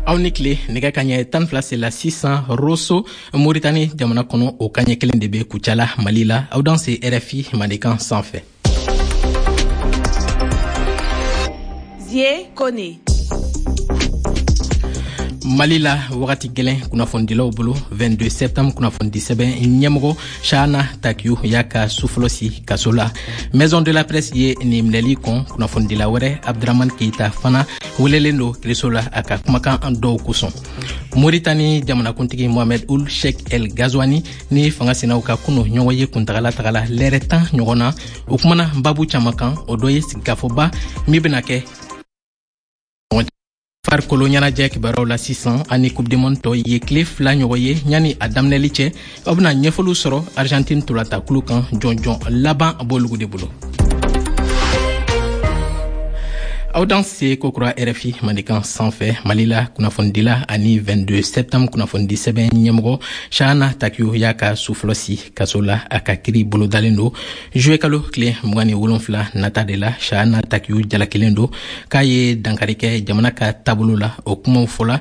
Aw ni tile. Nɛgɛ kaɲɛ 12 sela sisan Roso, Moritani jamana kɔnɔ. O kaɲɛ kelen de bɛ Kucala, Mali la. Aw danse RFI Mandenkan sanfɛ. Zie Kone. Mali la, wagati gɛlɛn kunnafonidilaw bolo. 22 septembre kunnafonidisɛbɛn ɲɛmɔgɔ Chahana Takiou y'a ka sufɔlɔ si kaso la. Maison de la Presse ye nin minɛli kɔn. Kunnafonidila wɛrɛ, Abdramane Keita, fana welelen don kiriso la a ka kumakan dɔw kosɔn. Moritani jamanakuntigi Mohamed Ould Cheikh El Ghazouani ni fanga sinaw ka kunu ɲɔgɔn ye kuntagala tagala lɛrɛ 10 ɲɔgɔn na. O kumana babu caman kan, o dɔ ye sigikafɔba min bena kɛ. Farikolo ɲɛnajɛ kibaruyaw la sisan, ani Coupe du monde tɔ ye tile 2 ɲɔgɔn ye yanni a daminɛli cɛ, aw bena ɲɛfɔliw sɔrɔ Argentine ntolatakulu kan. Jɔnjɔn laban b'olugu de bolo. Aw danse kokura RFI Mandenkan sanfɛ. Mali la, kunnafonidila ani 22 septembre kunnafonidi sɛbɛn ɲɛmɔgɔ Chahana Takiou y'a ka sufɔlɔ si kaso la. A ka kiri bolodalen don juillet kalo tile 27 nata de la. Chahana Takiou jalakilen don k'a ye dankari kɛ jamana ka taabolo la. O kumaw fɔla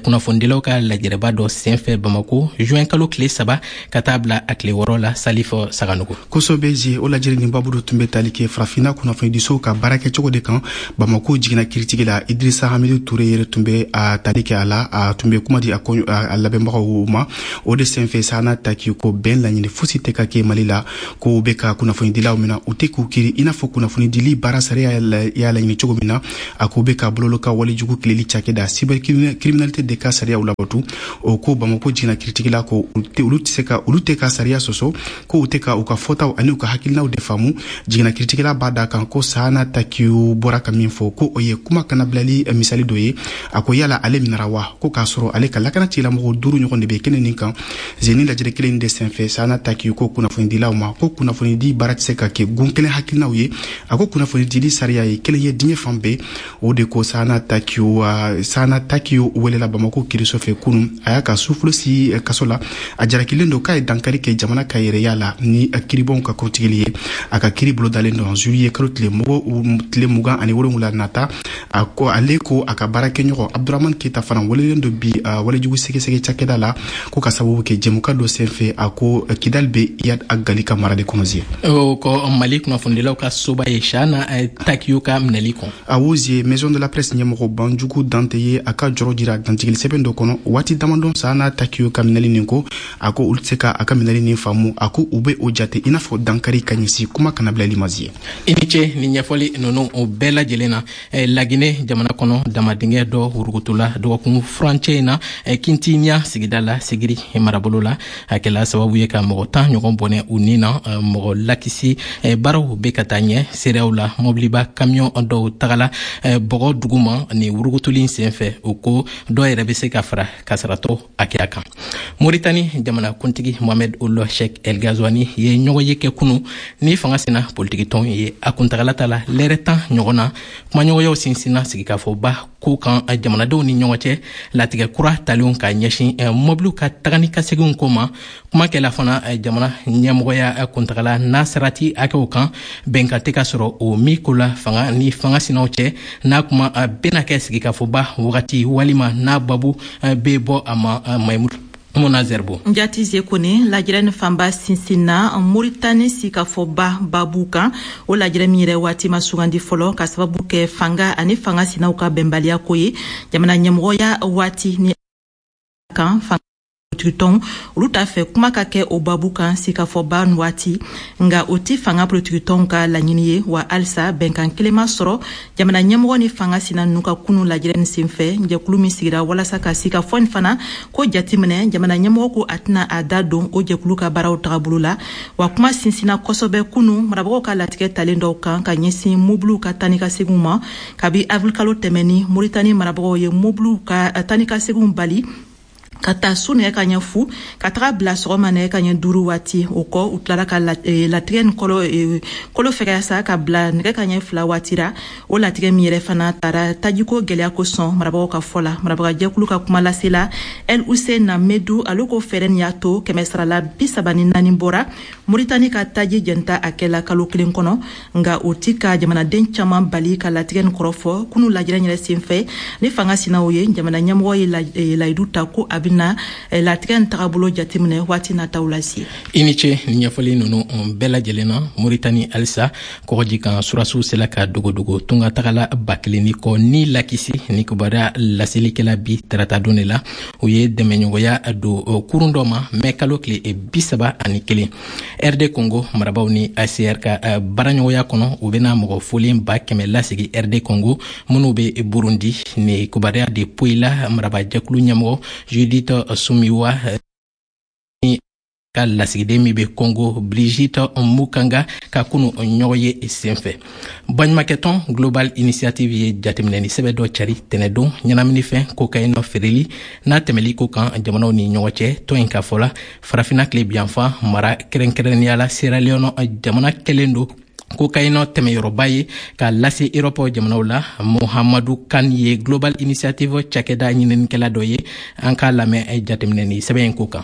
kunnafonidilaw ka lajɛrɛba dɔ senfɛ Bamako, juin kalo tile 3 ka taa bila a tile 6 la. Salifɔ Saganogo. Kosɛbɛ Zie. O lajɛrɛ nin babu tun bɛ tali kɛ Farafinna kunnafonidisow ka baarakɛcogo de kan. Bamako jiginna kiritigɛ la, Idrissa Hamidu Toure yɛrɛ tun bɛ a tali kɛ a la. A tun bɛ kuma di a labɛnbagaw ma. O de senfɛ, Chahana Takiou ko bɛn laɲini fosi tɛ ka kɛ Mali la, ko bɛ ka kunnafonidilaw minɛ, u tɛ k'u kiri i n'a fɔ kunnafonidili baara sariya y'a laɲini cogo min na. A ko bɛ ka bololo ka walejugu kileli cakɛda cybercriminalité de ka sariyaw labatu. O ko Bamako jiginna kiritigɛla ko olu tɛ se ka, olu tɛ ka sariya sɔsɔ, ko u tɛ ka u ka fɔtaw ani u ka hakilinaw de faamu. Jiginna kiritigɛla b'a da kan ko Chahana Takiou bɔra ka min fɔ, ko o ye kuma kana bilali misali dɔ ye. A ko yala ale minɛra wa, ko k'a sɔrɔ ale ka lakana tigilamɔgɔw duuru ɲɔgɔn de bɛ kɛnɛ nin kan. Zeni lajɛrɛ kelen de senfɛ, Chahana Takiou ko kunnafonidilaw ma ko kunnafonidi baara tɛ se ka kɛ gun kelen hakilinaw ye. A ko kunnafonidili sariya ye kelen ye diɲɛ fan bɛɛ. O de ko Chahana Takiou welela Bamako kiriso fɛ kunun. A y'a ka sufolo si kaso la. A jarakilen don k'a ye dankari kɛ jamana ka yɛrɛya la ni kiribɔnw ka kɔrɔtigɛli ye. A ka kiri bolodalen don juillet kalo tile 27 nata. A ko ale ko a ka baarakɛɲɔgɔn Abdramane Keita fana welelen don bi walejugu sɛgɛsɛgɛ cakɛda la, ko ka sababu kɛ jɛmukan dɔ senfɛ, a ko Kidal bɛ Iyad Ag Ghali ka mara de kɔnɔ. Zie. O kɔ, Mali kunnafonidilaw ka soba ye Chahana Takiou ka minɛli kɔn. Awo Zie, Maison de la Presse ɲɛmɔgɔ Banjugu Dante ye a ka jɔrɔ jira dantigɛli sɛbɛn dɔ kɔnɔ waati damadɔ Chahana Takiou ka minɛli nin ko. A ko olu tɛ se ka a ka minɛli nin faamu. A ko u bɛ o jate i n'a fɔ dankari ka ɲɛsin kuma kana bilali ma. Zie. I ni ce ni ɲɛfɔli ninnu o bɛɛ lajɛlen na. Lagine jamana kɔnɔ, damadingɛ dɔ wurugutula dɔgɔkun furancɛ in na Kintiɲa sigida la, Sigiri marabolo la. A kɛla sababu ye ka mɔgɔ 10 ɲɔgɔn bɔnɛ u ni na. Mɔgɔ lakisi baaraw bɛ ka taa ɲɛ. Seereyaw la, mɔbiliba kamiyɔn dɔw tagala bɔgɔ duguma ni wurugutuli sen fɛ. O ko dɔw yɛrɛ bɛ se ka fara kasaratɔ hakɛya kan. Moritani jamanakuntigi Mohamed Ould Cheikh El Ghazouani ye ɲɔgɔn ye kɛ kunu ni fanga sina politikitɔn ye. A kuntagala ta la lɛrɛ 10 ɲɔgɔn na. Kumaɲɔgɔnyaw sinsinna sigikafɔba ko kan jamanadenw ni ɲɔgɔn cɛ, latigɛ kura talenw ka ɲɛsin mɔbiliw ka taga ni ka seginw ko ma. Kuma kɛla fana jamana ɲɛmɔgɔya kuntagala n'a sarati hakɛw kan, bɛnkan tɛ ka sɔrɔ o min ko la fanga ni fanga sinaw cɛ. N'a kuma bɛna kɛ sigikafɔba wagati walima n'a babu bɛ bɔ a ma, Maimuna Zerbo. Njati Zie Kone, lajɛrɛ ni fanba sinsinna Moritani sigikafɔba babu kan. O lajɛrɛ min yɛrɛ waati ma sugandi fɔlɔ, ka sababu kɛ fanga ani fanga sinaw ka bɛnbaliya ko ye jamana ɲɛmɔgɔya waati ni kan. Politikitɔnw olu t'a fɛ kuma ka kɛ o babu kan sigikafɔba waati, nka o ti fanga politikitɔnw ka laɲini ye wa. Halisa bɛnkan kelen ma sɔrɔ jamana ɲɛmɔgɔ ni fanga sina ninnu ka kunu lajɛrɛ nin senfɛ. Jɛkulu min sigira walasa ka sigikafɔ nin fana ko jateminɛ, jamana ɲɛmɔgɔ ko a tɛna a da don o jɛkulu ka baaraw tagabolo la. Wa kuma sinsinna kosɛbɛ kunu marabagaw ka latigɛ talen dɔw kan ka ɲɛsin mobiliw ka taa ni ka seginw ma. Kabi avril kalo tɛmɛni, Moritani marabagaw ye mobiliw ka taa ni ka seginw bali. Ka taa su nɛgɛ ka ɲɛ 0 ka taga bila sɔgɔma nɛgɛ ka ɲɛ 5 waati. O kɔ, u tilara ka latigɛ ni kolo fɛgɛya sa ka bila nɛgɛ ka ɲɛ 2 waati ra. O latigɛ min yɛrɛ fana taara tajiko gɛlɛya kosɔn, marabagaw ka fɔ la. Marabagajɛkulu ka kuma lasela El Hussein Medu, ale ko fɛɛrɛ nin y'a to 134% bɔra Moritani ka taji jɛnta a kɛla kalo kelen kɔnɔ. Nka o ti ka jamanaden caman bali ka latigɛ nin kɔrɔfɔ. Kunu lajɛrɛ yɛrɛ senfɛ ni fanga sinaw ye, jamana ɲɛmɔgɔ ye layidu ta ko a bɛna latigɛ nin tagabolo jateminɛ waati nataw la se. I ni ce ni ɲɛfɔli ninnu bɛɛ lajɛlen na. Moritani halisa, kɔgɔji kan surasiw sela ka dogodogo tunga tagala 1000 ni kɔ ni lakisi. Ni kibaruya laselikɛla bi tarata don de la, u ye dɛmɛɲɔgɔnya don kurun dɔ ma mɛ kalo tile 31. RD Congo marabaw ni HCR ka baaraɲɔgɔnya kɔnɔ, u bɛna mɔgɔ folen 100 000 lasegi RD Congo minnu bɛ Burundi. Ni kibaruya de poyila marabajɛkulu ɲɛmɔgɔ Judith Suminwa ka lasigiden min bɛ Congo, Brigitte Mukanga, ka kunu ɲɔgɔn ye senfɛ. Baɲumakɛtɔn Global Initiative ye jateminɛni sɛbɛ dɔ cari tɛnɛdon ɲɛnaminifɛn cocaïne feereli n'a tɛmɛli ko kan jamanaw ni ɲɔgɔn cɛ. Tɔn in ka fɔ la, Farafina tile biyanfan mara, kɛrɛnkɛrɛnnenya la Sierra Leone jamana, kɛlen don cocaïne tɛmɛyɔrɔba ye k'a lase Erɔpɔ jamanaw la. Muhamadu Kan ye Global Initiative cakɛda ɲininikɛla dɔ ye. An k'a lamɛn jateminɛni sɛbɛn in ko kan.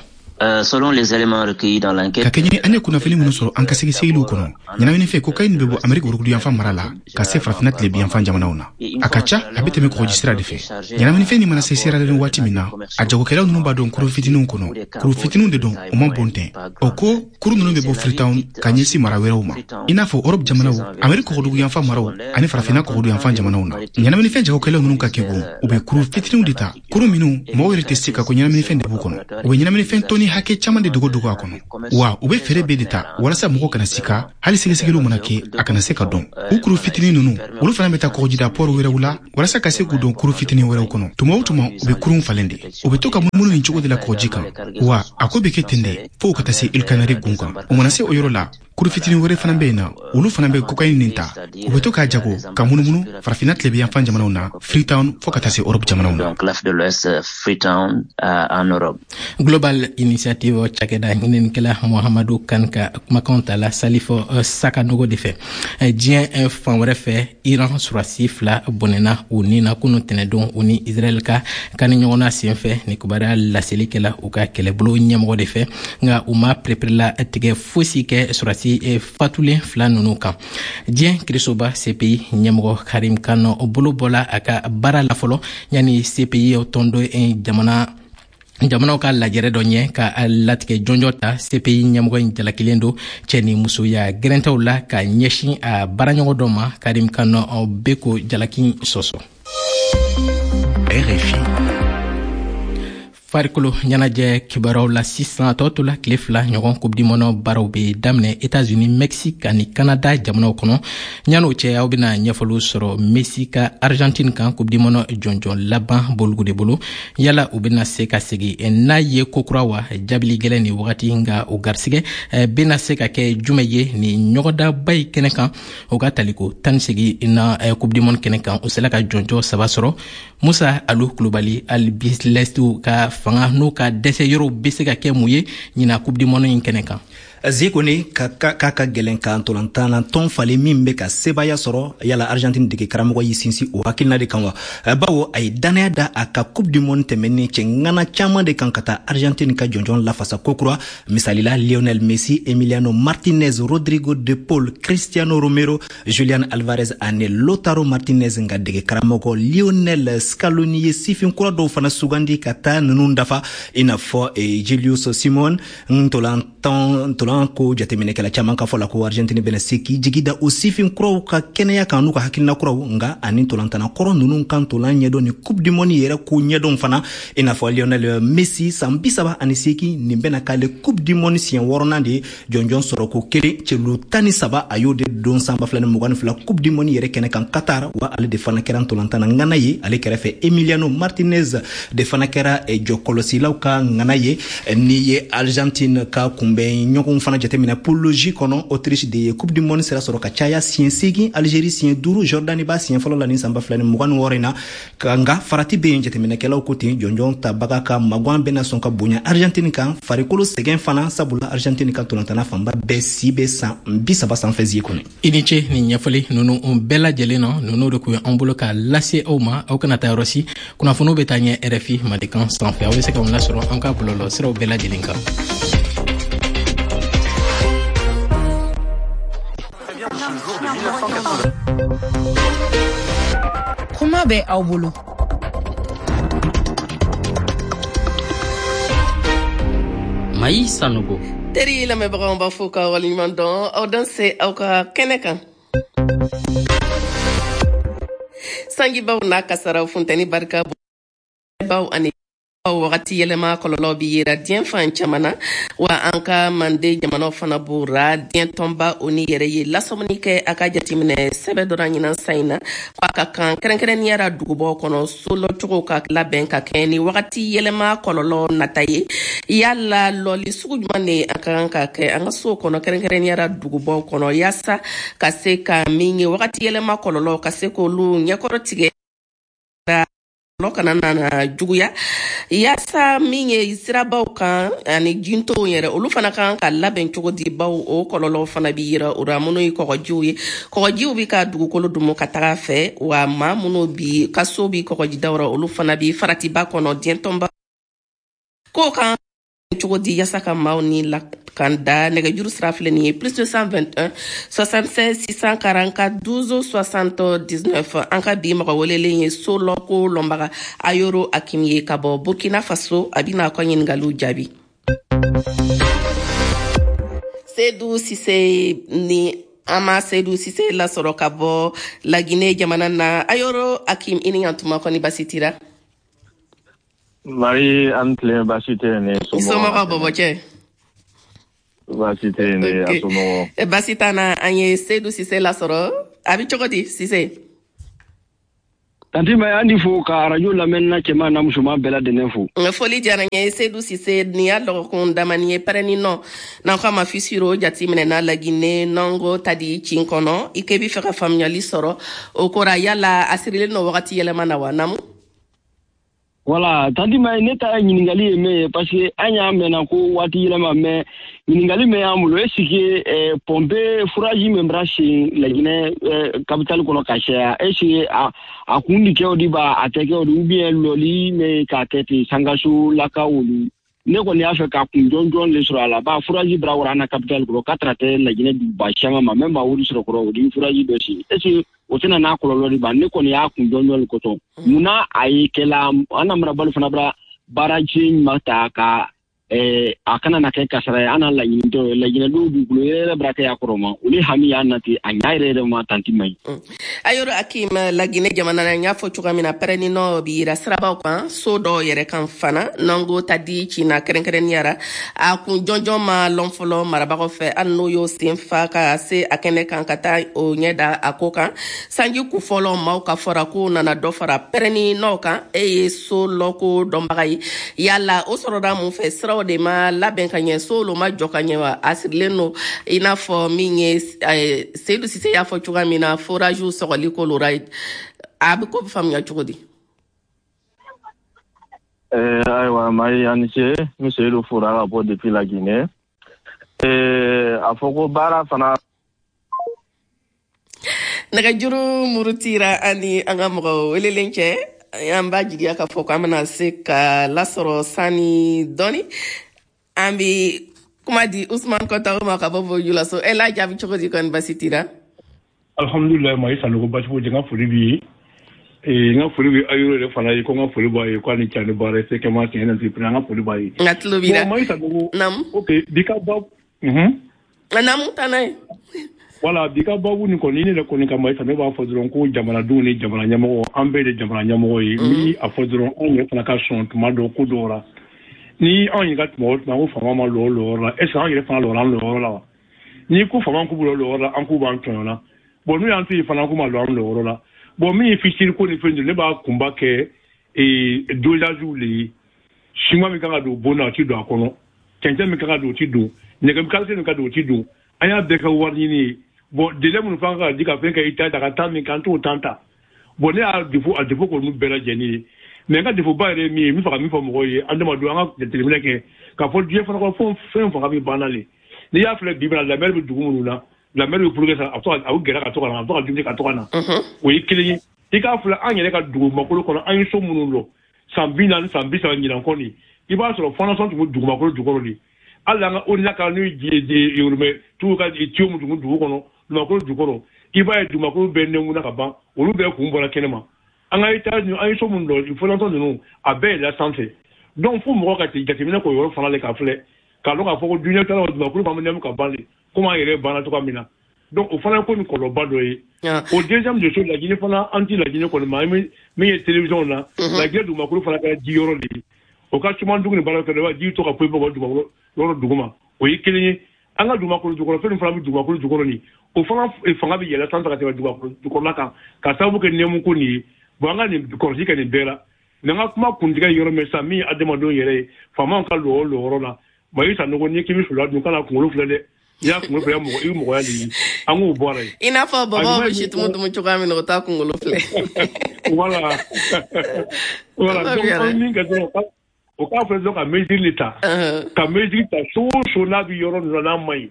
Selon les éléments recueillis dans l'enquête, Ka kɛɲɛ an ye kunnafoni minnu sɔrɔ an ka sɛgɛsɛgɛliw kɔnɔ, ɲɛnaminifɛn cocaïne bɛ bɔ Ameriki woroduguyanfan mara la ka se Farafinna tilebiyanfan jamanaw na. A ka ca, a bɛ tɛmɛ kɔgɔji sira de fɛ. Ɲɛnaminifɛn nin mana se Sierra Leone waati min na, a jagokɛlaw ninnu b'a dɔn kurun fitininw kɔnɔ. Kuru fitininw de don, u man bon tɛ. O ko kuru ninnu bɛ bɔ Freetown ka ɲɛsin mara wɛrɛw ma, i n'a fɔ Europe jamanaw, Ameriki kɔgɔduguyanfan maraw ani Farafinna kɔgɔduguyanfan jamanaw na. Ɲɛnaminifɛn jagokɛlaw ninnu ka kegun, u bɛ kuru fitininw de ta, kuru minnu mɔgɔw yɛrɛ tɛ se ka ko ɲɛnaminifɛn de b'u kɔnɔ. U bɛ ɲɛnaminifɛn tɔni hakɛ caman de dogo dogo a kɔnɔ, wa u bɛ fɛɛrɛ bɛɛ de ta walasa mɔgɔw kana sika. Hali sɛgɛsɛgɛliw mana kɛ, a kana se ka dɔn. U kuru fitinin ninnu, olu fana bɛ taa kɔgɔjida pɔri wɛrɛw la walasa ka se k'u don kuru fitinin wɛrɛw kɔnɔ. Tuma o tuma, u bɛ kurun falen de. U bɛ to ka munumunu nin cogo de la kɔgɔji kan, wa a ko bɛ kɛ ten de fo ka taa se Îles Canaries gun kan. U mana se o yɔrɔ la, kuru fitinin wɛrɛ fana bɛ yen na, olu fana bɛ cocaïne nin ta. U bɛ to k'a jago ka munumunu Farafinna tilebiyanfan jamanaw na, Freetown, fo ka taa se Europe jamanaw na. Donc l'Afrique de l'Ouest, Freetown en Europe. Global Initiative cakɛda ɲininikɛla Muhamadu Kan ka kumakanw ta la Salifo Sakanogo de fɛ. Diɲɛ fan wɛrɛ fɛ, Iran surasi fila bɔnɛna u ni na kunu tɛnɛdon u ni Israɛl ka kani ɲɔgɔnna senfɛ. Ni kibaruya laseli kɛla u ka kɛlɛbolo ɲɛmɔgɔ de fɛ, nka u ma pereperela tigɛ fosi kɛ surasi fatulen fila ninnu kan. Diɲɛ kirisoba CPI ɲɛmɔgɔ Karim Khan bolo bɔla a ka baara la fɔlɔ yanni CPI tɔndon jamanaw ka lajɛrɛ dɔ ɲɛ ka latigɛ jɔnjɔ ta. CPI ɲɛmɔgɔ in jalakilen don cɛ ni musoya gɛrɛntɛw la ka ɲɛsin a baaraɲɔgɔn dɔ ma. Karim Khan bɛ ko jalaki sɔsɔ. RFI. Farikolo ɲɛnajɛ kibaruyaw la sisan. A tɔ tola tile 2 ɲɔgɔn, Coupe du monde baaraw bɛ daminɛ États-Unis, Mexique ani Canada jamanaw kɔnɔ. Yan'o cɛ, aw bɛna ɲɛfɔliw sɔrɔ Messi ka Argentine kan Coupe du monde jɔnjɔn laban boligu de bolo. Yala u bɛna se ka segin n'a ye kokura wa? Jaabili gɛlɛn nin wagati, nka o garisigɛ bɛna se ka kɛ jumɛn ye nin ɲɔgɔndanba in kɛnɛ kan? O ka taliko 18 na Coupe du monde kɛnɛ kan, u sela ka jɔnjɔn saba sɔrɔ. Musa Alu Kulubali, Albiceleste ka fanga n'u ka dɛsɛ yɔrɔw bɛ se ka kɛ mun ye ɲinan Coupe du monde in kɛnɛ kan? Zekone k'a ka gɛlɛn ka ntolantan na tɔn falen min bɛ ka sebaaya sɔrɔ. Yala Argentine dege karamɔgɔ y'i sinsin o hakilina de kan wa? Bawo a ye dannaya da a ka Coupe du monde tɛmɛnen cɛ ŋana caman de kan ka taa Argentine ka jɔnjɔn lafasa kokura. Misalila, Lionel Messi, Emiliano Martinez, Rodrigo de Paul, Cristiano Romero, Julian Alvarez ani Lautaro Martinez. Nka dege karamɔgɔ Lionel Scaloni ye sifin kura dɔw fana sugandi ka taa ninnu dafa, i n'a fɔ Julius Simon. Ntolan ntolan ko jateminɛkɛla caman ka fɔ la ko Argentine bɛna se k'i jigi da o sifin kuraw ka kɛnɛya kan n'u ka hakilina kuraw, nka ani ntolantana kɔrɔ ninnu ka ntolan ɲɛdɔn ni Coupe du monde yɛrɛ ko ɲɛdɔn fana, i n'a fɔ Lionel Messi, san 38. Nin bɛna k'ale Coupe du monde siɲɛ wɔɔrɔnan de ye. Jɔnjɔn sɔrɔ ko kelen, celu 13, a y'o de don san 2022 Coupe du monde yɛrɛ kɛnɛ kan Qatar. Wa ale de fana kɛra ntolantana ŋana ye. Ale kɛrɛfɛ, Emiliano Martinez de fana kɛra jɔkɔlɔsilaw ka ŋana ye. N'i ye Argentine ka kunbɛn ɲɔgɔn fana jateminɛ poule J kɔnɔ, Autriche de ye Coupe du monde sira sɔrɔ ka caya siɲɛ 8, Algérie siɲɛ 5, Jordanie b'a siɲɛ fɔlɔ la nin san 2026 in na. Nka farati bɛ yen, jateminɛkɛlaw ko ten, jɔnjɔn tabaga ka magan bɛna sɔn ka bonya Argentine kan, farikolo sɛgɛn fana, sabula Argentine ka ntolantana fanba bɛɛ si bɛ san 30 sanfɛ zie kɔnɔ. I ni ce nin ɲɛfɔli ninnu bɛɛ lajɛlen na. Ninnu de kun ye an bolo k'a lase aw ma. Aw kana taa yɔrɔ si, kunnafoniw bɛ taa ɲɛ RFI Mandenkan sanfɛ. Aw bɛ se k'anw lasɔrɔ an ka bɔlɔlɔ siraw bɛɛ lajɛlen kan. Kuma bɛ aw bolo. Mayi Sanogo. Teri lamɛnbagaw, b'a fɔ ka waleɲuman dɔn, aw dan se aw ka kɛnɛ kan. Sanjibaw n'a kasaraw, funtɛni barika baw ani wagati yɛlɛma kɔlɔlɔ bi yera diɲɛ fan caman na, wa an ka mande jamanaw fana b'o ra. Diɲɛ tɔnba o ni yɛrɛ ye lasɔmini kɛ a ka jateminɛ sɛbɛ dɔ ɲinan san in na, ko a ka kan kɛrɛnkɛrɛnnenya ra dugubaw kɔnɔ, solɔcogo ka labɛn ka kɛ ni wagati yɛlɛma kɔlɔlɔ nata ye. Yala lɔli sugu jumɛn de a ka kan ka kɛ an ka sow kɔnɔ, kɛrɛnkɛrɛnnenya ra dugubaw kɔnɔ, yaasa ka se ka min ye wagati yɛlɛma kɔlɔlɔ ka se k'olu ɲɛkɔrɔ tigɛ kana nana juguya, yaasa min ye sirabaw kan ani jintow yɛrɛ, olu fana kan ka labɛn cogo di, baw o kɔlɔlɔw fana bi yira o ra. Minnu ye kɔgɔjiw ye, kɔgɔjiw bi ka dugukolo dumu ka taga fɛ, wa maa minnu bi ka so bi kɔgɔjidaw ra, olu fana bi faratiba kɔnɔ. Diɲɛ tɔnba k'o kan cogo di yaasa ka maaw ni lakanda? Nɛgɛjuru sira filɛ nin ye: plus 221 76 644 12 79. An ka bi mɔgɔ welelen ye so lɔko lɔnbaga Ayoro Akim ye ka bɔ Burkina Faso. A bɛna a ka ɲininkaliw jaabi. Seydou Sise ni an ma Seydou Sise lasɔrɔ ka bɔ Lagine jamana na. Ayoro Akim, i ni ɲantuma, kɔni basi tira? Marie, an tilen, baasi tɛ yen ne. Somɔgɔw bɔbɔcɛ? Baasi tɛ yen ne, a somɔgɔw? Baasi t'an na. An ye Seydou Sise lasɔrɔ. A bɛ cogo di, Sise? Tanti Mayi, an di fo ka arajo lamɛnna cɛman n'a musoman bɛɛ lajɛlen fo. Foli diyara n ye. Seydou Sise, nin y'a lɔgɔkun damani ye, pɛrɛnni nɔ n'an ko a ma fissure jateminɛna Lagine nɔngo tadi cin kɔnɔ. I k'e bɛ fɛ ka faamuyali sɔrɔ o kora, yala a sirilen don wagati yɛlɛma na wa? Naamu. Voilà, tanti Mayi, ne ta ɲininkali ye min ye, parce que an y'a mɛnna ko waati yɛlɛma, mais ɲininkali min y'an bolo, est ce que pompe forage min bɛra sen Laginɛ capitale kɔnɔ ka caya, est ce que a kun di kɛ o di ba a tɛ kɛ o di, ou bien lɔli min k'a kɛ ten sankaso lakaw olu? Ne kɔni y'a fɛ ka kun jɔnjɔn le sɔrɔ a la, ba forage bɛra wara an na capitale kɔnɔ k'a tara tɛ Laginɛ duguba caman ma, même ba wuri sɔrɔ kɔrɔ o di forage dɔ sen, est ce que o tɛna n'a kɔlɔlɔ de ba? Ne kɔni y'a kun jɔnjɔn le kɔtɔ, munna a ye kɛla an na marabali fana bɛra baaraji ɲuman ta ka a kana na kɛ kasara ye? An n'a laɲini tɛ o ye. Laginɛdenw dugukolo yɛrɛ bɛra kɛ a kɔrɔ ma, olu hami y'an na ten, a ɲa yɛrɛ yɛrɛ ma, tanti Mayi. Ayoro Akim, Lagine jamana na, n y'a fɔ cogoya min na, pɛrɛnni nɔ bi yira sirabaw kan, so dɔw yɛrɛ kan fana nɔngo ta di ci na kɛrɛnkɛrɛnnenya ra. A kun jɔnjɔn ma lɔn fɔlɔ marabagaw fɛ, hali n'o y'o sen fa ka se a kɛnɛ kan ka taa o ɲɛ da a ko kan. Sanji kun fɔlɔ, maaw ka fɔra k'o nana dɔ fara pɛrɛnni nɔ kan. E ye so lɔko dɔnbaga ye, yala o sɔrɔla mun fɛ? Siraw de ma labɛn ka ɲɛ, so olu ma jɔ ka ɲɛ wa? A sirilen don i n'a fɔ min ye Seydou Sise y'a fɔ cogoya min na, forage sɔgɔli ko lora, a bɛ ko bɛ faamuya cogo di? Ayiwa Mayi, a ni ce. N bɛ Seydou fora ka bɔ depuis la Guinée. A fɔ ko baara fana Nɛgɛjuru murutira ani an ka mɔgɔ welelen cɛ. An b'a jigiya k'a fɔ k'an bɛna se ka lasɔrɔ sani dɔɔni. An bɛ kuma di Usman Kɔntawo ma ka bɔ Bojulaso. E la jaabi cogo di, kɔni basi tira? Alhamdulilayi Mayi Sanogo, basi foyi tɛ. N ka foli b'i ye, n ka foli bɛ Ayoro yɛrɛ fana ye, ko n ka foli b'a ye, k'a ni ca ni baara ye, CKMA tiɲɛ na, an ka foli b'a ye. N ka tulo b'i la. Mayi Sanogo. Naamu. Ok, bi ka ba. Naamu, taa n'a ye. Voilà, bi ka babu nin kɔni, ne yɛrɛ kɔni ka Mayi Sanogo, ne b'a fɔ dɔrɔn ko jamanadenw ni jamana ɲɛmɔgɔ, an bɛɛ de jamana ɲɛmɔgɔ ye. N bɛ a fɔ dɔrɔn, anw yɛrɛ fana ka sɔn tuma dɔ ko dɔw la. Ni anw yɛrɛ ka tuma o tuma ko faama ma lɔ lɔyɔrɔ la, est ce que anw yɛrɛ fana lɔra an lɔyɔrɔ la wa? N'i ko faama k'u b'u lɔyɔrɔ la, an k'u b'an tɔɲɔ na. Bon, n'u y'an to yen fana, k'u ma lɔ an lɔyɔrɔ la. Bon, min ye fissure ko ni fɛn ne b'a kunba kɛ dosagew le ye. Siman min kan ka don bon na, o ti don a kɔnɔ. Cɛncɛn min kan ka don, o ti don. Nɛgɛ qualité min ka don, o ti don. An y'a bɛɛ kɛ wari ɲini ye. Bon, délai minnu fana ka di ka fɛn kɛ i ta ta ka taa min kan, an t'o temps ta. Bon, ne y'a défaut, a défaut kɔni bɛɛ lajɛlen ye. Mais n ka défaut ba yɛrɛ ye min ye, n bɛ fɛ ka min fɔ mɔgɔw ye, adamadenw, an ka jateminɛ kɛ k'a fɔ diɲɛ fana kɔnɔ, fɛn fɛn fanga bɛ banna le. N'i y'a filɛ bi bi in na, la mer bɛ dugu minnu na, la mer bɛ progresser, a bɛ to ka, a bɛ gɛrɛ ka to ka na, a bɛ to ka dumuni ka to ka na. O ye kelen ye. I k'a filɛ, an yɛrɛ ka dugumakolo kɔnɔ, an ye so minnu lɔ san 40, san 30 ɲinan kɔ nin, i b'a sɔrɔ fondation tun bɛ dugumakolo jukɔrɔ de. Hali an ka ONUDA ka n'u ye yoromɛ tugu ka tuyau min tun bɛ dugu kɔnɔ, dugumakolo jukɔrɔ, i b'a ye dugumakolo bɛɛ nɛnkun ka ban, olu bɛɛ kun bɔra kɛnɛ ma. An ka étage, an ye so minnu lɔ, fondation ninnu, a bɛɛ yɛlɛla sanfɛ. Donc fo mɔgɔ ka jateminɛ k'o yɔrɔ fana le k'a filɛ, k'a dɔn k'a fɔ ko duɲɛ taara dugumakolo fana bɛ nɛmu ka ban de, komi an yɛrɛ banna cogoya min na. Donc o fana ye ko nin kɔlɔlɔba dɔ ye. O deuxième de chose, Laginɛ fana, an ti Laginɛ kɔni ma, an bɛ min ye télévision na, Laginɛ dugumakolo fana kɛra ji yɔrɔ de ye. O ka suman dugu ni baara kɛ, i b'a ji to ka poyi bɔ dugumakolo yɔrɔ duguma, o ye kelen ye. An ka dugumakolo jukɔrɔ fɛn min fana bɛ dugumakolo jukɔrɔ nin, o fana fanga bɛ yɛlɛ sanfɛ ka tɛmɛ dugumakolo jukɔrɔla kan, ka sababu kɛ nɛmu ko nin ye. Bon, an ka nin kɔlɔsi kɛ nin bɛɛ la. Mais an ka kuma kuntigɛ yɔrɔ min sisan, min ye adamadenw yɛrɛ ye, faamaw ka lɔ lɔyɔrɔ la. Mayi Sanogo, n'i k'i bɛ sula dun, kana kunkolo filɛ dɛ. N'i y'a kunkolo filɛ, mɔgɔ i bɛ mɔgɔya de ye. An k'o bɔ a la yen. I n'a fɔ bɔbɔw bɛ situmu dumu cogoya min na, o t'a kunkolo filɛ. Voilà. Donc an bɛ min kɛ dɔrɔn, o k'a filɛ dɔrɔn ka mesure de ta. Ka mesure ta, so o so n'a bɛ yɔrɔ ninnu na n'a ma ɲi,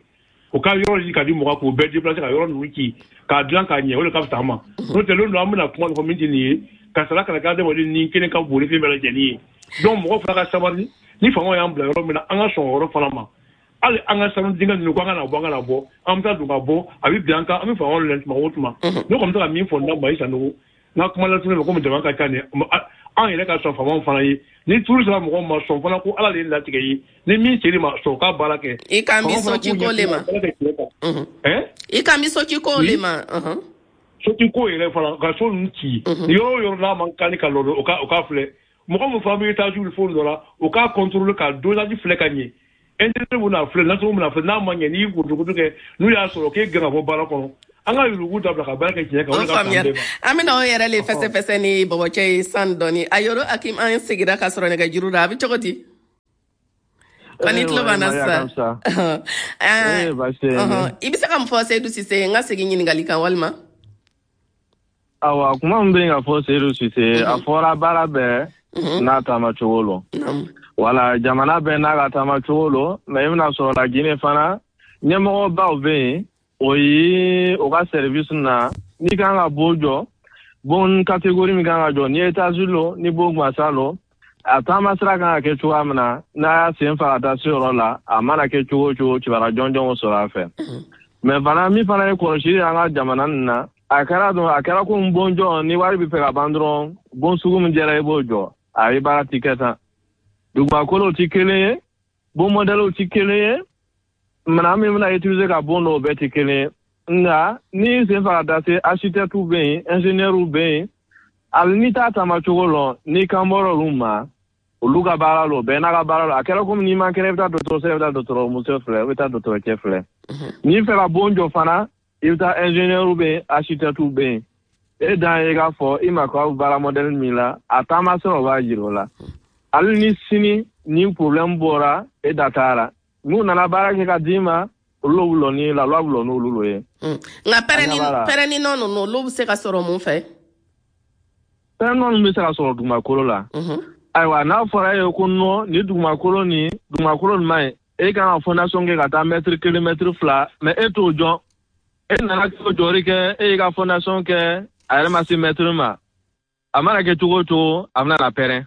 o ka yɔrɔ ɲini ka di mɔgɔ k'o bɛɛ déplacer, ka yɔrɔ ninnu ci k'a dilan k'a ɲɛ, o de ka fisa an ma. N'o tɛ, don dɔ an bɛna kuma dɔ fɔ min tɛ nin ye, ka sara kana kɛ adamaden ni kelen ka bon ni fɛn bɛɛ lajɛlen ye. Donc mɔgɔ fana ka sabali, ni faamaw y'an bila yɔrɔ min na, an ka sɔn o yɔrɔ fana ma. Hali an ka sanu dingɛ ninnu, ko an kana bɔ, an kana bɔ, an bɛ taa don ka bɔ, a bɛ bin an kan, an bɛ faamaw lɛn tuma o tuma. Ne kɔni bɛ se ka min fɔ n da, Mayi Sanogo, n ka kuma lasurunya la, komi jama ka ca nin, an yɛrɛ ka sɔn faamaw fana ye. Ni turu sera mɔgɔw ma, sɔn fana ko Ala de ye latigɛ ye. Ni min ser'i ma, sɔn k'a baara kɛ. I kan bɛ sociko le ma. I kan bɛ sociko le ma. Sociko yɛrɛ fana, ka so ninnu ci. Yɔrɔ o yɔrɔ n'a man kan ka lɔ, o ka filɛ. Mɔgɔ min fana bɛ étage ni fɛnw dɔ la, o k'a contrôler, ka dosage filɛ ka ɲɛ. Intérêt bɛna filɛ, nasɔngɔ bɛna filɛ, n'a ma ɲɛ, n'i y'i kurutukutu kɛ, n'u y'a sɔrɔ k'e gɛn ka bɔ baara kɔnɔ. An ka yurugu dabila ka baara kɛ tiɲɛ kan, o de ka fisa an bɛɛ ma. An bɛna o yɛrɛ le fɛsɛfɛsɛ ni bɔbɔcɛ ye san dɔɔni. A yɔrɔ Akim, an seginna ka sɔrɔ nɛgɛjuru la, a bɛ cogo di? Kɔni tulo b'an na sisan. I bɛ se ka mun fɔ Seyidu Sise, n ka segin ɲininkali kan walima? Awa, kuma min bɛ yen ka fɔ Seyidu Sise, a fɔra baara bɛɛ n'a taama cogo lo. Wala jamana bɛɛ n'a ka taama cogo lo, mais i bɛna sɔrɔ la Guinée fana, ɲɛmɔgɔbaw bɛ yen, o ye o ka service na, n'i kan ka bon jɔ, bon catégorie min kan ka jɔ, ni étage lo, ni bon gansan lo, a taama sira kan ka kɛ cogoya min na, n'a y'a sen fa ka taa se yɔrɔ la, a mana kɛ cogo o cogo, kibaruya jɔnjɔnw sɔrɔ a fɛ. Mais fana, min fana ye kɔlɔsili an ka jamana nin na, a kɛra dɔrɔn, a kɛra komi bon jɔ, ni wari bɛ fɛ ka ban dɔrɔn, bon sugu min jɛra, i b'o jɔ. A ye baara ti kɛ tan. Dugumakolow ti kelen ye, bon modèlew ti kelen ye, minɛn min bɛna utiliser ka bon dɔw bɛɛ ti kelen ye. Nka n'i sen fa ka taa se, architectes bɛ yen, ingénieurs bɛ yen, hali n'i t'a taama cogo lɔn, n'i kan bɔra olu ma, olu ka baara lo, bɛɛ n'a ka baara lo. A kɛra komi n'i man kɛnɛ, i bɛ taa dɔgɔtɔrɔso, i bɛ taa dɔgɔtɔrɔmuso filɛ, i bɛ taa dɔgɔtɔrɔcɛ filɛ. N'i fɛ ka bon jɔ fana, i bɛ taa ingénieur bɛ yen, architecte bɛ yen. E dan ye k'a fɔ i ma ko baara modèle min la, a taama sira o b'a jira o la. Hali ni sini ni problème bɔra, e da t'a la. N'u nana baara kɛ ka d'i ma, olu bɛ lɔ ni la loi bɛ lɔ n'olu lo ye. Nka pɛrɛnni nɔ ninnu, olu bɛ se ka sɔrɔ mun fɛ? Pɛrɛnni nɔ ninnu bɛ se ka sɔrɔ dugumakolo la. Ayiwa, n'a fɔra e ye ko nɔ ni dugumakolo nin, dugumakolo nin man ɲi, e kan ka fondation kɛ ka taa mètre 1, mètre 2, mais e t'o jɔn. E nana k'o jɔri kɛ, e y'i ka fondation kɛ, a yɛrɛ ma se mètre ma. A mana kɛ cogo o cogo, a bɛna na pɛrɛn.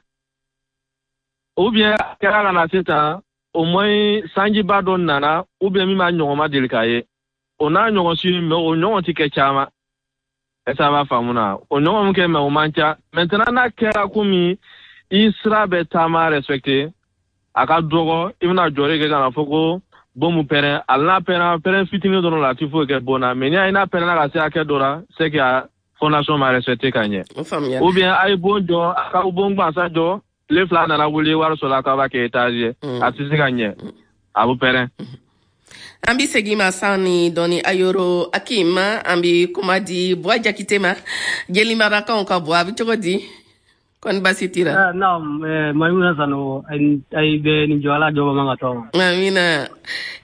Ou bien a kɛra ka na sisan, au moins sanjiba dɔ nana, ou bien min b'a ɲɔgɔn ma deli k'a ye. O n'a ɲɔgɔn si, mais o ɲɔgɔn ti kɛ caman. Est-ce que a b'a faamu na? O ɲɔgɔn min kɛ, mais o man ca. Maintenant n'a kɛra komi i sira bɛ taama respecté, a ka dɔgɔ, i bɛna jɔri kɛ ka na fɔ ko bon mun pɛrɛn, hali n'a pɛrɛn, pɛrɛn fitinin dɔrɔn la, a ti foyi kɛ bon na. Mais n'i y'a ye n'a pɛrɛnna ka se hakɛ dɔ la, c'est que a fondation ma respecté ka ɲɛ. Ou bien a ye bon jɔ, a ka bon gansan jɔ, tile 2 nana wuli, wari sɔrɔla k'a b'a kɛ étage ye, a tɛ se ka ɲɛ, a bɛ pɛrɛn. An bi segin ma san ni dɔɔni, Ayoro Akim, an bi kuma di Buwa Jakite ma, Jelimarakaw ka Buwa, a bɛ cogo di? Kɔni baasi t'i la? Naam, Maimuna Sanogo, ay bɛ nin jɔ Ala jɔ man ka tɔn. Amina.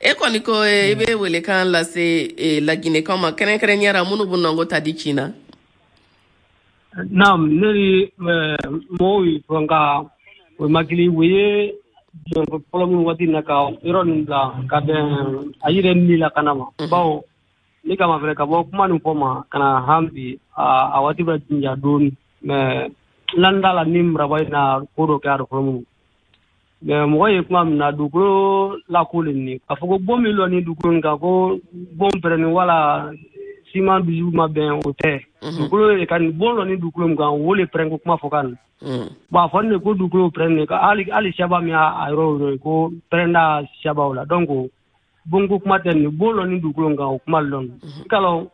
E kɔni ko i bɛ welekan lase Laginɛkaw ma, kɛrɛnkɛrɛnnenya la minnu bɛ nɔngɔ ta di ci na. Naam, ne ni mɔgɔw ye fɔ nka o makili o ye fɔlɔ minnu waati na ka yɔrɔ nin bila ka bɛn a yɛrɛ ni lakana ma. Bawo ne kama fɛnɛ ka bɔ kuma nin fɔ ma ka na han bi a waati bɛ jinja dɔɔni, mais landa la ni maraba in na ko dɔ kɛ a fɔlɔ minnu. Mais mɔgɔ ye kuma min na dugukolo lako le nin k'a fɔ ko bon min lɔ ni dugukolo nin kan ko bon pɛrɛnni wala siman dusu ma bɛn o tɛ. Dugukolo de ka nin bon lɔ ni dugukolo min kan o le pɛrɛn ko kuma fɔ kan. Bon a fɔ ne ko dugukolo pɛrɛn ne hali siyaba min y'a yɔrɔ ye ko pɛrɛnda siyabaw la, donc bon ko kuma tɛ nin bon lɔ ni dugukolo kan o kuma lɔ. I ka lɔn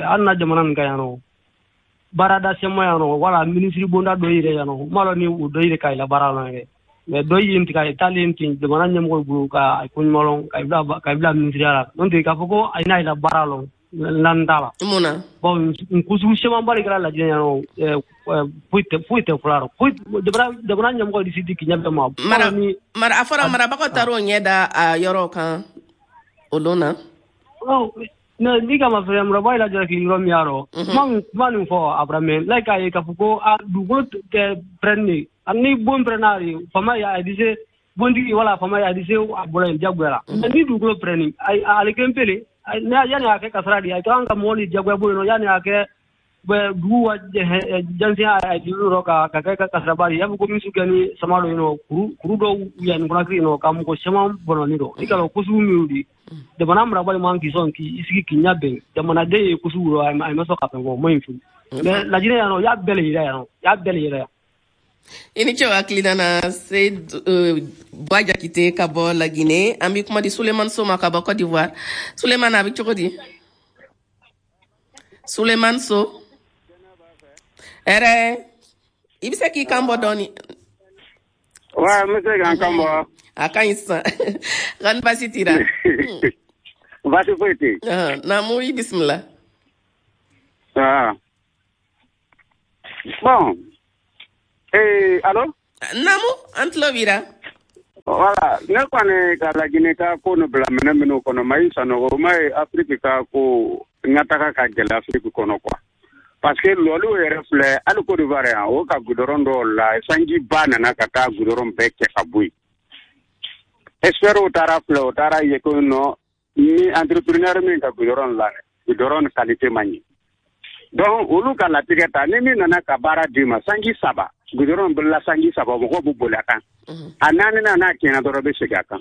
an na jamana nin kan yan nɔ baarada sɛma yan nɔ wala minisiri bonda dɔ yɛrɛ yan nɔ ma lɔ ni o dɔ yɛrɛ ka ila baara la yɛrɛ. Mais dɔ ye tigɛ a taalen ten jamana ɲɛmɔgɔ bolo ka ko ɲuman lɔn ka bila minisiriya la, n'o tɛ k'a fɔ ko a n'a ila baara lɔn lan t'a la. Mun na? Bon n kusugu camanba de kɛra lajɛ yan nɔ, foyi tɛ fɔlɔ la, foyi jamana ɲɛmɔgɔ de si tɛ k'i ɲɛ bɛn ma. Mara a fɔra marabagaw taar'o ɲɛ da a yɔrɔ kan o don na. N'i ka ma fɛnɛ marabagaw yɛrɛ jalaki yɔrɔ min y'a rɔ, kuma nin fɔ a bɔra mɛ n'a k'a ye k'a fɔ ko a dugukolo tɛ pɛrɛnni ni bon pɛrɛnna de faama ye a bɛ se bontigi wala faama ye a bɛ se a bɔra yen diyagoya la. Ni dugukolo pɛrɛnni ale kelen pe le yanni a kɛ kasara de a kan ka mɔgɔ ni diyagoya bɔ yen nɔ yanni a kɛ dugu wa jansiya a juru yɔrɔ ka kɛ kasaraba de y'a fɔ ko misiw kɛ ni sama dɔ yen nɔ kuru dɔw yanni Conakry yen nɔ ka mɔgɔ caman bɔnɔni dɔ i ka lɔn ko sugu min di jamana marabali man k'i sɔn k'i sigi k'i ɲɛ bɛn jamanaden ye ko sugu rɔ a ma sɔn ka fɛn fɔ o ma ɲi fiyewu. Mais Lajinɛ yan nɔ y'a bɛɛ le yira yan nɔ y'a bɛɛ le yira yan. I ni ce hakilina na Seydou Ba Jakite ka bɔ Laginɛ. An bɛ kuma di Sulemani So ma ka bɔ Côte d'Ivoire. Sulemani, a bɛ cogo di? Sulemani So, hɛrɛ, i bɛ se k'i kan bɔ dɔɔni? Wa n bɛ se k'an kan bɔ. A ka ɲi sisan. Kani baasi t'i la? Baasi foyi tɛ yen. Naamu, i bisimila. Bon. Allô? Naamu, an tulo b'i la. Voilà, ne kɔni ka Laginɛ ka ko nin bila minɛ minnu kɔnɔ, Mayi Sanogo, ma ye Afiriki ka ko ɲɛtaga ka gɛlɛ Afiriki kɔnɔ quoi. Parce que lɔliw yɛrɛ filɛ, hali Côte d'Ivoire yan, o ka goudron dɔw la, sanjiba nana ka taa goudron bɛɛ cɛ ka bɔ yen. Experts taara filɛ, o taara ye ko non, ni entrepreneur min ka goudron la, goudron qualité man ɲi. Donc olu ka latigɛ ta, ni min nana ka baara d'i ma, sanji 3, goudron bolila sanji 3, mɔgɔw b'u boli a kan. A 4nan n'a tiɲɛna dɔrɔn bɛ segin a kan.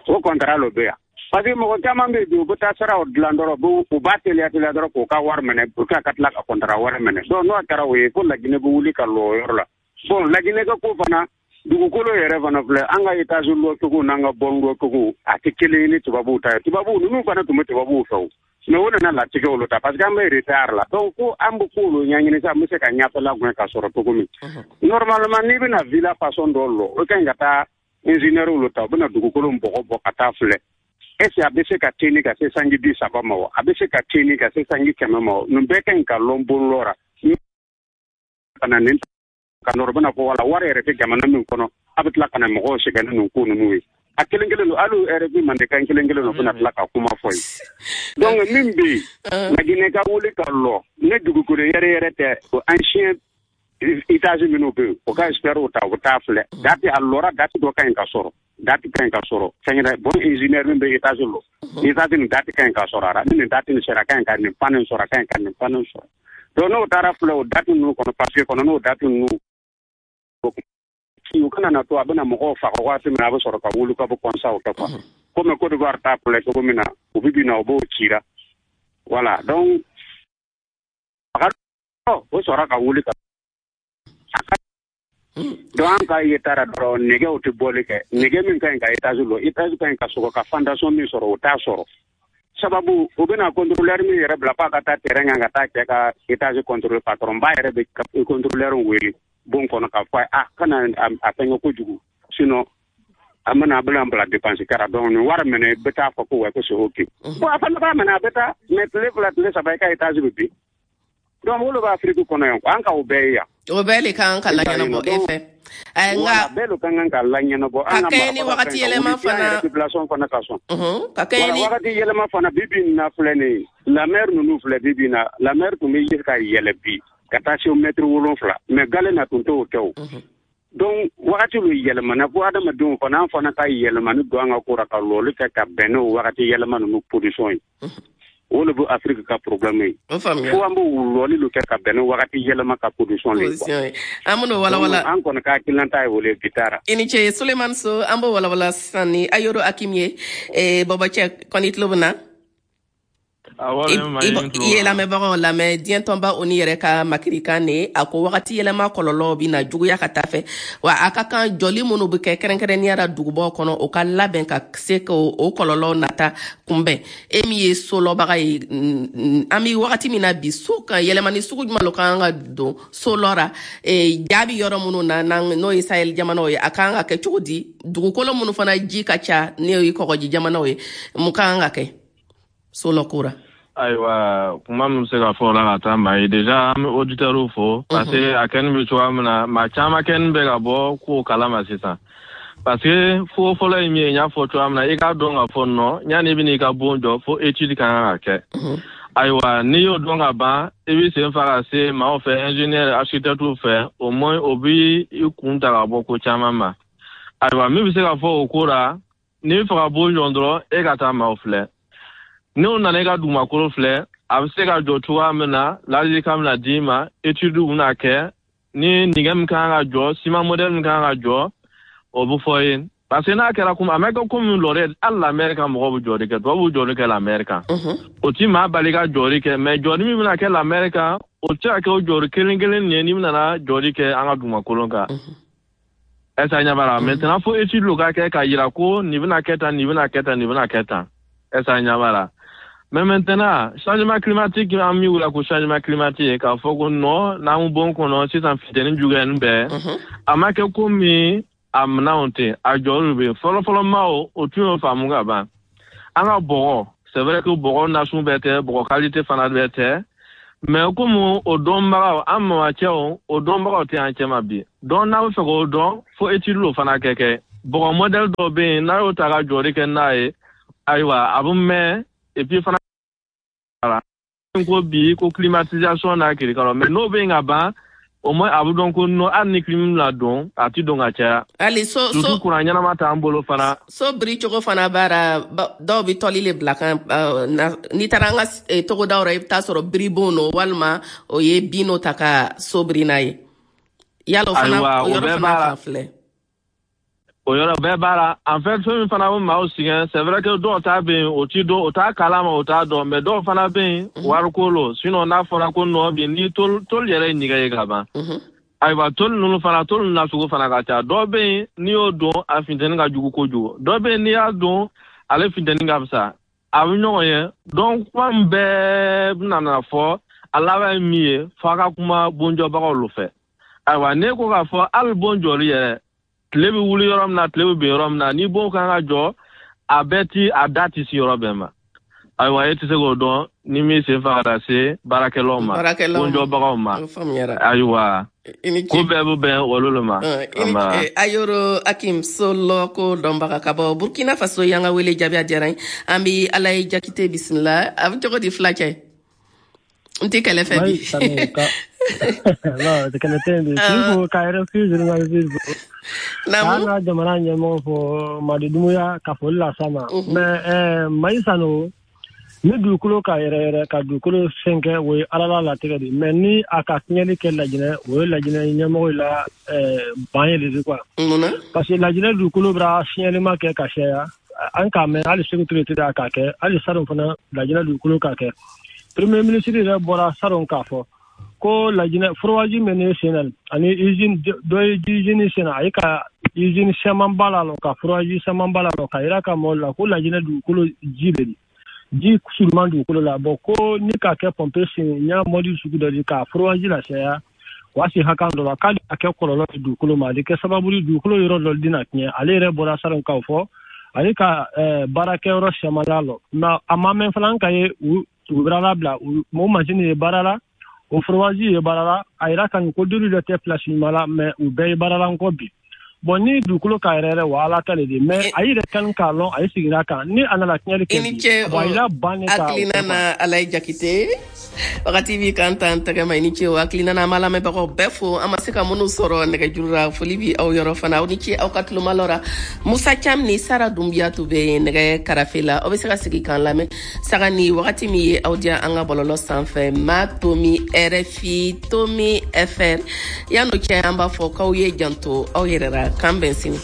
O contrat lo bɛ yan. Parce que mɔgɔ caman bɛ yen bi, u bɛ taa siraw dilan dɔrɔn, u b'a teliya teliya dɔrɔn k'u ka wari minɛ pour que ka tila ka contrat wɛrɛ minɛ. Donc n'o kɛra o ye, ko Laginɛ bɛ wuli ka lɔ o yɔrɔ la. Bon Laginɛ ka ko fana, dugukolo yɛrɛ fana filɛ, an ka étage lɔcogo n'an ka bɔn lɔcogo, a tɛ kelen ye ni tubabuw ta ye. Tubabuw ninnu fana tun bɛ tubabuw fɛ o. Mais o nana latigɛ olu ta parce que an bɛ retard la. Donc ko an bɛ k'olu ɲɛɲini sa, an bɛ se ka ɲɛfɛla gɛn ka sɔrɔ cogo min. Normalement n'i bɛna villa façon dɔ lɔ, o ka ɲi ka taa ingénieur olu ta, u bɛna dugukolo bɔgɔ bɔ ka taa filɛ. Est ce que a bɛ se ka teni ka se sanji 30 ma wa? A bɛ se ka teni ka se sanji 100 ma wa? Nin bɛɛ ka ɲi ka lɔn bon lɔ ra. Ka na nin ka nɔrɔ bɛna fɔ wala wari yɛrɛ tɛ jamana min kɔnɔ, a bɛ tila ka na mɔgɔw sɛgɛn ni nin ko ninnu ye. A kelen kelen don, hali RFI mandekan kelen kelen don, bɛna tila ka kuma fɔ ye. Donc min bɛ yen, Laginɛ ka wuli ka lɔ, ne dugukolo yɛrɛ yɛrɛ tɛ, o ancien étage minnu bɛ yen, o ka experts ta, u bɛ taa filɛ. Date a lɔra, date dɔ ka ɲi ka sɔrɔ. Date ka ɲi ka sɔrɔ. Fɛn yɛrɛ, bon ingénieur min bɛ étage lɔ, étage nin date ka ɲi ka sɔrɔ a la. Ni nin date nin sera, a ka ɲi ka nin pan nin sɔrɔ, a ka ɲi ka nin pan nin sɔrɔ. Donc n'o taara filɛ o date ninnu kɔnɔ, parce que kɔnɔ n'o date ninnu u kana na to a bɛna mɔgɔw faga waati min na, a bɛ sɔrɔ ka wuli ka bɔ kɔnsaw kɛ quoi. Komi Côte d'Ivoire ta filɛ cogo min na, u bɛ bin na, u b'o cira. Voilà, donc o sɔrɔ ka wuli ka donc an ka ye taara dɔrɔn, nɛgɛw tɛ bɔli kɛ. Nɛgɛ min ka ɲi ka étage lɔ, étage ka ɲi ka sɔgɔ ka fondation min sɔrɔ, o t'a sɔrɔ. Sababu u bɛna contrôleur min yɛrɛ bila f'a ka taa terrain kan ka taa cɛ ka étage contrôler, patron ba yɛrɛ bɛ contrôleur wele bon kɔnɔ k'a fɔ a kana a fɛngɛ kojugu, sinon an bɛna bila dépense kɛra. Donc nin wari minɛ, i bɛ taa fɔ ko wa ko c'est ok. Bon a fana b'a minɛ, a bɛ taa, mais tile 2 tile 3 i ka étage bɛ bin. Donc olu bɛ Afiriki kɔnɔ yan, an ka o bɛɛ ye yan. O bɛɛ le kan ka laɲɛnabɔ e fɛ. Nka bɛɛ lo kan ka laɲɛnabɔ. Ka kɛɲɛ ni wagati yɛlɛma fana, population fana ka sɔn. Ka kɛɲɛ ni wagati yɛlɛma fana, bi bi in na filɛ nin ye, la mer ninnu filɛ, bi bi in na la mer tun bɛ ye ka yɛlɛ bi ka taa se mètre 7, mais gale na tun t'o kɛ o. Donc wagati lu yɛlɛmana fo adamadenw fana, an fana ka yɛlɛmani don an ka ko ra, ka lɔli kɛ ka bɛn n'o wagati yɛlɛma ninnu position ye. O le bɛ Afrique ka problème ye. Fo an b'o lɔli lu kɛ ka bɛn n'o wagati yɛlɛma ka position le ye. An b'o walawala. An kɔni ka hakilinata ye o le bi taara. I ni ce Suleiman So, an b'o walawala sisan ni Ayoro Hakim ye. Bɔbɔcɛ kɔni tulo bɛ na? I ye lamɛnbagaw lamɛn. Diɲɛ tɔnba ONU yɛrɛ ka makirikan ne a ko wagati yɛlɛma kɔlɔlɔ bɛ na juguya ka taa fɛ, wa a ka kan jɔli minnu bɛ kɛ kɛrɛnkɛrɛnnenya la dugubaw kɔnɔ, o ka labɛn ka se k'o kɔlɔlɔ nata kunbɛn. E min ye solɔbaga ye, an bɛ wagati min na bi, so kan yɛlɛmani sugu jumɛn lo kan ka don so lɔ ra, jaabi yɔrɔ minnu na n'o ye Sahel jamanaw ye, a kan ka kɛ cogo di? Dugukolo minnu fana ji ka ca, n'o ye kɔgɔji jamanaw ye, mun kan ka kɛ solɔ ko ra? Ayiwa, kuma min bɛ se ka fɔ o la ka taa maa ye, déjà an bɛ auditeurs fo, parce que a kɛni bɛ cogoya min na, maa caman kɛni bɛ ka bɔ kow kalama sisan. Parce que fo fɔlɔ ye min ye, n y'a fɔ cogoya min na, i k'a dɔn k'a fɔ nɔ yanni i bɛn'i ka bon jɔ, fo étude ka kan ka kɛ. Ayiwa, n'i y'o dɔn ka ban, i b'i sen fa ka se maaw fɛ, ingénieur, architecte fɛ, au moins o b'i kun ta ka bɔ ko caman ma. Ayiwa, min bɛ se ka fɔ o ko la, n'i bɛ fɛ ka bon jɔ dɔrɔn, e ka taa maaw filɛ. N'o nana i ka dugumakolo filɛ, a bɛ se ka jɔ cogoya min na, ladilikan bɛna d'i ma, étude bɛna kɛ, ni nɛgɛ min kan ka jɔ, ciment modèle min kan ka jɔ, o bɛ fɔ ye. Parce que n'a kɛra komi a ma kɛ komi lɔrɛ, hali la mer kan mɔgɔw bɛ jɔli kɛ, tubabuw bɛ jɔli kɛ la mer kan. O ti maa bali ka jɔli kɛ, mais jɔli min bɛna kɛ la mer kan, o tɛ se ka kɛ o jɔli kelen kelen nin ye n'i bɛna jɔli kɛ an ka dugumakolo kan. Est-ce que ɲɛ b'a la? Maintenant fo étude lo ka kɛ k'a yira ko nin bɛna kɛ tan, nin bɛna kɛ tan, nin bɛna kɛ tan. Est-ce que ɲɛ b'a la? Mais maintenant, changement climatique, an min wele ko changement climatique, k'a fɔ ko non, n'an bon kɔnɔ sisan funteni juguyani bɛɛ, a ma kɛ komi a minɛnw tɛ, a jɔliw bɛ yen. Fɔlɔfɔlɔ maaw o tun y'o faamu ka ban. An ka bɔgɔ, c'est vrai que bɔgɔ nasun bɛɛ tɛ, bɔgɔ qualité fana bɛɛ tɛ, mais komi o dɔnbagaw, an mamacɛw, o dɔnbagaw tɛ an cɛma bi. Donc n'a bɛ fɛ k'o dɔn, fo étude lo fana kɛ kɛ. Bɔgɔ modèle dɔw bɛ yen, n'a y'o ta ka jɔli kɛ n'a ye, ayiwa, a bɛ mɛn. Et puis fana ko bi ko climatisation n'a kirikara, mais n'o bɛ yen ka ban, au moins a bɛ dɔn ko non, hali ni clim la don, a ti don ka caya. Hali so surtout courant ɲɛnama t'an bolo fana. So biri cogo fana baara, dɔw bɛ tɔli le bila kan. N'i taara an ka togodaw la, i bɛ taa sɔrɔ biribon no, walima o ye bin no ta ka so biri n'a ye. Yala o fana, o yɔrɔ fana fan filɛ. O yɔrɔ bɛɛ b'a la. En fait, fɛn min fana bɛ maaw sɛgɛn, c'est vrai que dɔw ta bɛ yen, o ti dɔn, o t'a kalama, o t'a dɔn, mais dɔw fana bɛ yen, wariko lo. Sinon n'a fɔra ko non, bi ni tôle yɛrɛ ye nɛgɛ ye ka ban. Ayiwa, tôle ninnu fana, tôle nasugu fana ka ca. Dɔw bɛ yen, n'i y'o don, a funteni ka jugu kojugu. Dɔw bɛ yen, n'i y'a don, ale funteni ka fisa. A bɛ ɲɔgɔn ye. Donc kuma min bɛɛ bɛna na fɔ, a laban ye min ye, f'a ka kuma bonjɔbagaw lo fɛ. Ayiwa, n'e ko k'a fɔ hali bon jɔli yɛrɛ, tile bɛ wuli yɔrɔ min na, tile bɛ bin yɔrɔ min na, ni bon kan ka jɔ, a bɛɛ ti a da ti se yɔrɔ bɛɛ ma. Ayiwa, e tɛ se k'o dɔn ni min sen fa ka se baarakɛlaw ma, bonjɔbagaw ma. Ayiwa, ko bɛɛ bɛ bɛn olu le ma. Ayoro Hakim Solo ko dɔnbaga ka bɔ Burkina Faso, y'an ka wele jaabi, a diyara n ye. An bɛ Ala ye Jakite bisimila. A bɛ cogo di filacɛ? N tɛ kɛlɛ fɛ bi. Non, kɛlɛ tɛ yen bi. Ka RFI journaliste fo. Naamu. K'an ka jamana ɲɛmɔgɔ fo, Madi Dumuya, ka foli las'a ma. Mais Mayi Sano, ni dugukolo ka yɛrɛ yɛrɛ ka dugukolo fɛn kɛ, o ye Ala la latigɛ de. Mais ni a ka tiɲɛni kɛ Lajinɛ, o ye Lajinɛ ɲɛmɔgɔ la ban ye de quoi. Munna? Parce que Lajinɛ dugukolo bɛra siɲɛlima kɛ ka caya. An k'a mɛn hali Sékou Touré tɛ a k'a kɛ, hali salon fana Lajinɛ dugukolo k'a kɛ. Premier ministre yɛrɛ bɔra salon k'a fɔ ko Lajinɛ forage min ne sen na, ani usine dɔ ye usine sen na, a ye ka usine camanba la ka forage camanba la ka yira ka mɔgɔw la ko Lajinɛ dugukolo ji bɛ di, ji suruman dugukolo la. Bon, ko ni ka kɛ pompe sen ɲa mɔdi sugu dɔ di ka forage la caya, o y'a se hakan dɔ la, k'ale a kɛ kɔlɔlɔ ye dugukolo ma, ale kɛ sababu ye dugukolo yɔrɔ dɔ dina tiɲɛ. Ale yɛrɛ bɔra salon k'o fɔ, ale ka baarakɛyɔrɔ caman la lɔ. Mais a ma mɛn fana, an ka ye u bɛra labila o masini ye baara la. O forage ye baara la, a yira kan ko dolu dɔ tɛ place ɲuman la, mais u bɛɛ ye baara la nkɔ bi. Bon, ni dugukolo ka yɛrɛ yɛrɛ, wa ala ta le de, mais a yɛrɛ kan k'a lɔn a ye sigira kan ni a nana tiɲɛli kɛ. I ni ce. Bon, a yira ban ne ka hakilina na. Alaye Jakite, wagati b'i kan tan tɛgɛ ma. I ni ce o hakilina na. An b'a lamɛnbagaw bɛɛ fo, an ma se ka minnu sɔrɔ nɛgɛjuru la. Foli bi aw yɔrɔ fana. Aw ni ce aw ka tulomalɔ ra. Musa Cam ni Sara Dunbiya tun bɛ nɛgɛ karafe la. Aw bɛ se ka sigi k'an lamɛn saga ni wagati min ye aw diya an ka bɔlɔlɔ sanfɛ, ma tomi RFI tomi fr. Yan'o cɛ, an b'a fɔ k'aw ye janto aw yɛrɛ ra. K'an bɛn sini.